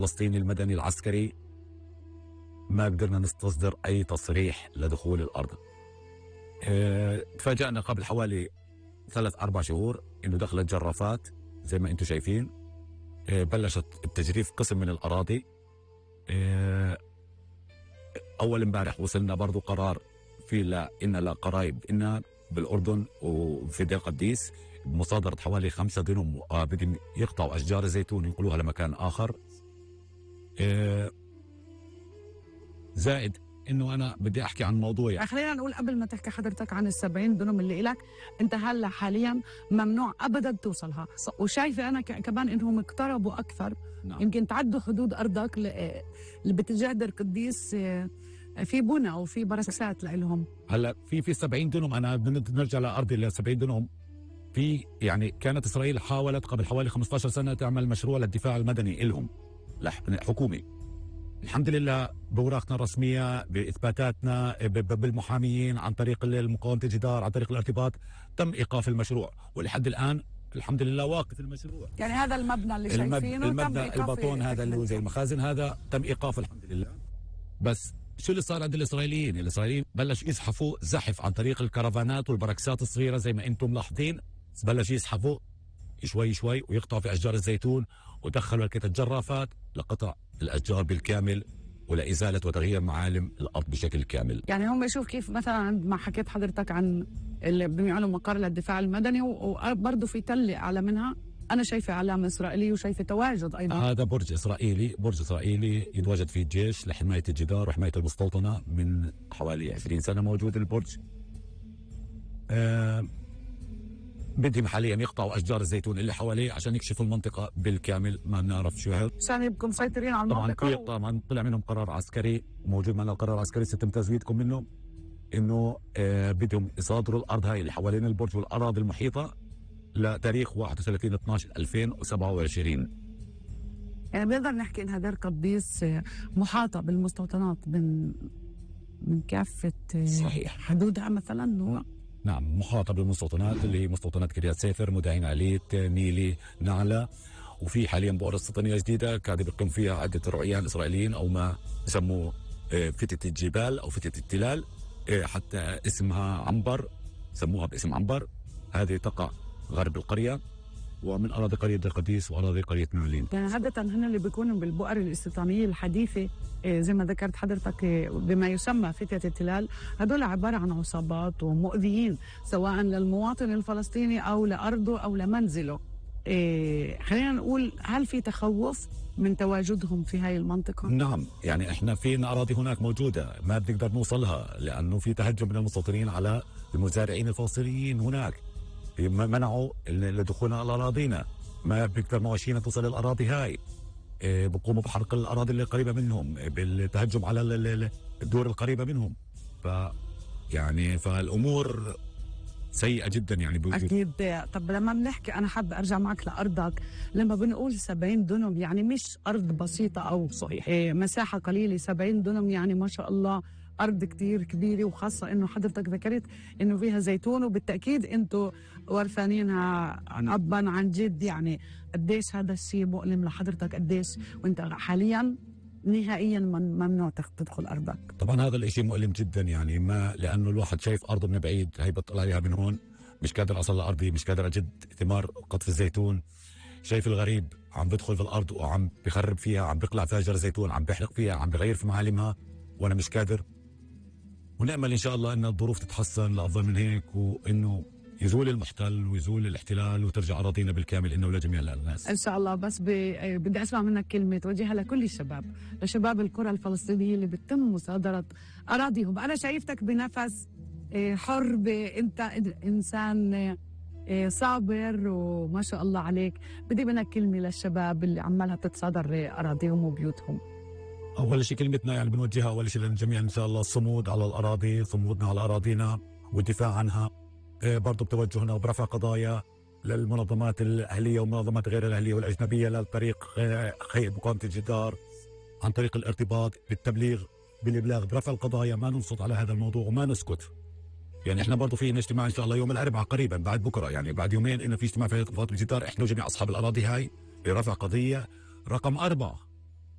الفلسطيني المدني العسكري ما قدرنا نستصدر أي تصريح لدخول الأرض. تفاجأنا قبل حوالي 3-4 شهور إنه دخلت جرافات زي ما أنتم شايفين. بلشت بتجريف قسم من الأراضي. أول امبارح وصلنا برضو قرار في إن لقرايب إن بالأردن وفي دير قديس بمصادرة حوالي 5 دنم بدهم يقطعوا أشجار الزيتون ينقلوها لمكان آخر. زائد إنه أنا بدي أحكي عن موضوع يعني. خلينا نقول قبل ما تحكي حضرتك عن ال70 دنم اللي إلك، أنت هلا حاليا ممنوع أبدا توصلها، وشايفة أنا كمان إنهم اقتربوا أكثر. نعم. يمكن تعدوا حدود أرضك اللي باتجاه دير قديس، في بنى أو في بركسات لهم. هلا في 70 دنم، أنا بنرجع لأرضي ل 70 دنم. في يعني كانت إسرائيل حاولت قبل حوالي 15 سنة تعمل مشروع للدفاع المدني إلهم حكومي. الحمد لله بأوراقنا الرسمية بإثباتاتنا بالمحاميين عن طريق مقاومة الجدار عن طريق الارتباط تم إيقاف المشروع، ولحد الآن الحمد لله واقف المشروع. يعني هذا المبنى اللي شايفينه المبنى الباطون هذا اللي هو زي المخازن هذا تم إيقافه الحمد لله. بس شو اللي صار عند الإسرائيليين بلش يزحفوا زحف عن طريق الكرفانات والبركسات الصغيرة زي ما أنتم ملاحظين. بلش يزحفوا شوي شوي ويقطعوا في أشجار الزيتون، ودخلوا الجرافات لقطع الأشجار بالكامل ولإزالة وتغيير معالم الأرض بشكل كامل. يعني هم يشوف كيف مثلا عندما حكيت حضرتك عن اللي بيعملوا مقر للدفاع المدني، وبرضه في تلة أعلى منها أنا شايفة علامة إسرائيلية وشايفة تواجد أيضا. هذا برج إسرائيلي يتواجد فيه الجيش لحماية الجدار وحماية المستوطنة من حوالي 20 سنة موجود البرج. بدهم حاليا يقطعوا أشجار الزيتون اللي حواليه عشان يكشفوا المنطقة بالكامل. ما بنعرف شو هذا عشان يبقوا مسيطرين على المنطقة. طبعا طلع منهم قرار عسكري، موجود معنا القرار العسكري سيتم تزويدكم منه، إنه بدهم يصادروا الأرض هاي اللي حوالين البرج والأراضي المحيطة لتاريخ 31/12/2027. يعني بنقدر نحكي إنها دير قديس محاطة بالمستوطنات من كافة صحيح حدودها مثلا. نعم محاطة بالمستوطنات اللي هي مستوطنات كريات سيفر، مداين عليت، نيلي، نعلة. وفي حاليا بؤرة استيطانية جديدة قاعد بيقوم فيها عدة رعيان إسرائيليين أو ما يسموه فتة الجبال أو فتة التلال، حتى اسمها عنبر، سموها باسم عنبر. هذه تقع غرب القرية ومن أراضي قرية دير قديس وأراضي قرية نعلين. يعني عادة هن اللي بيكونوا بالبؤر الاستيطانية الحديثة زي ما ذكرت حضرتك بما يسمى فتية التلال، هدول عبارة عن عصابات ومؤذيين سواء للمواطن الفلسطيني أو لأرضه أو لمنزله. خلينا نقول هل في تخوف من تواجدهم في هاي المنطقة؟ نعم، يعني احنا في أراضي هناك موجودة ما بنقدر نوصلها لأنه في تهجم من المستوطنين على المزارعين الفلسطينيين هناك، منعوا لدخولنا على أراضينا، ما بيقدر مواشينا توصل للأراضي هاي. بقوموا بحرق الأراضي اللي قريبة منهم، بالتهجم على الدور القريبة منهم. يعني فالأمور سيئة جدا يعني بوجود. أكيد. طب لما بنحكي أنا حابة أرجع معك لأرضك، لما بنقول 70 دنم يعني مش أرض بسيطة أو صحيح مساحة قليلة. 70 دنم يعني ما شاء الله أرض كتير كبيرة، وخاصة إنه حضرتك ذكرت إنه فيها زيتون، وبالتأكيد أنتوا ورثانينها أبا عن جد. يعني قديش هذا الشيء مؤلم لحضرتك؟ قديش وأنت حاليا نهائيا ممنوع تدخل أرضك؟ طبعا هذا الاشي مؤلم جدا، يعني ما لأنه الواحد شايف أرضه من بعيد، هي بطلع عليها من هون، مش قادر أصل لأرضي، مش قادر أجد ثمار قطف الزيتون. شايف الغريب عم بدخل في الأرض وعم بخرب فيها، عم بيقلع فيها أشجار زيتون، عم بيحرق فيها، عم بغير في معالمها، وأنا مش قادر. ونأمل إن شاء الله أن الظروف تتحسن لأفضل من هيك، وإنه يزول المحتل ويزول الاحتلال وترجع أراضينا بالكامل إنه لجميع الناس إن شاء الله. بس بدي أسمع منك كلمة توجهها لكل الشباب، لشباب القرى الفلسطينية اللي بتم مصادرة أراضيهم. أنا شايفتك بنفس حر، أنت إنسان صابر وما شاء الله عليك. بدي منك كلمة للشباب اللي عمالها تتصادر أراضيهم وبيوتهم. أول شيء كلمتنا يعني بنوجهها أول شيء للجميع إن شاء الله الصمود على الأراضي، صمودنا على أراضينا والدفاع عنها. برضو بتوجهنا وبرفع قضايا للمنظمات الأهلية والمنظمات غير الأهلية والأجنبية للطريق مقاومة الجدار عن طريق الارتباط بالتبليغ، بالإبلاغ، برفع القضايا. ما ننصت على هذا الموضوع وما نسكت. يعني احنا برضو في اجتماع ان شاء الله يوم الاربعاء قريبا بعد بكره، يعني بعد يومين، انه في اجتماع في مقاومة الجدار احنا وجميع اصحاب الاراضي هاي لرفع قضيه رقم 4